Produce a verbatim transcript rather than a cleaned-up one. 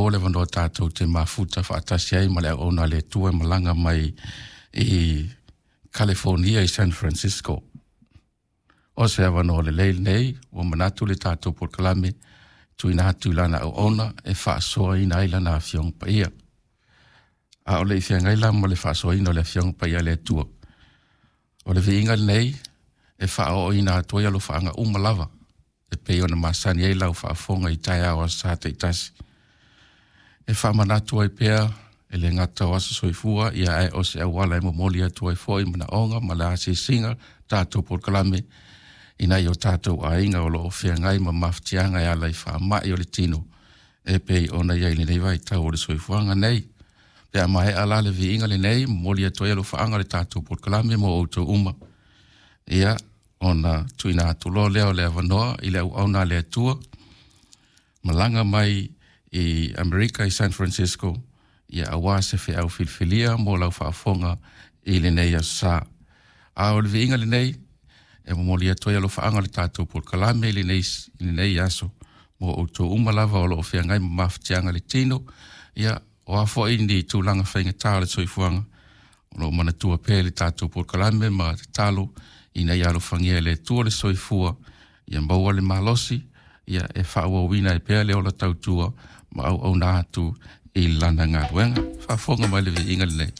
maua le avanoa tatou te mafuta faatasi ai ma le auauna a le Atua e malaga mai i California i San Francisco. O se avanoa lelei lenei ua manatu le tatou polokalame tuuina atu i lana auauna e faasoaina ai lana Afioga Paia. A o le i feagai la ma le faasoaina o le Afioga Paia a le Atua, o le viiga lenei e faaooina atu ai alofaaga uma lava e pei ona masani ai lau faafofoga i taeao aso Sa taitasi. E faamanatu ai pea e le gata o aso soifua ia ae o se auala e momoli atu ai foi manaoga ma le asiasiga tatou polokalame i nai o tatou aiga o lo o feagai ma mafatiaga e ala i faamai o le tino e pei ona i ai lenei vaitau o le soifuaga nei. Pe a maea la le viiga lenei, momoli atu ai alofaaga o le tatou polokalame mo outou uma. Ia, ona tuuina atu loa lea o le avanoa i le auauna a le Atua, malaga mai i Amerika i San Francisco, ia aua se feau filifilia mo lau faafofoga i lenei aso Sa. A o le viiga lenei, e momoli atu ai alofaaga o le tatou polokalame i lenei, i lenei aso mo outou uma lava o lo o feagai ma mafatiaga i le tino, ia, o a foi ni tulaga faigata o le soifuaga, o lo o manatua pea i le tatou polokalame ma tatalo ina ia alofagia e le Atua le soifua, ia maua le malosi, ia e faaauauina ai pea le ola tautua ma auauna atu i lana galuega. Faafofoga mai le viiga lenei.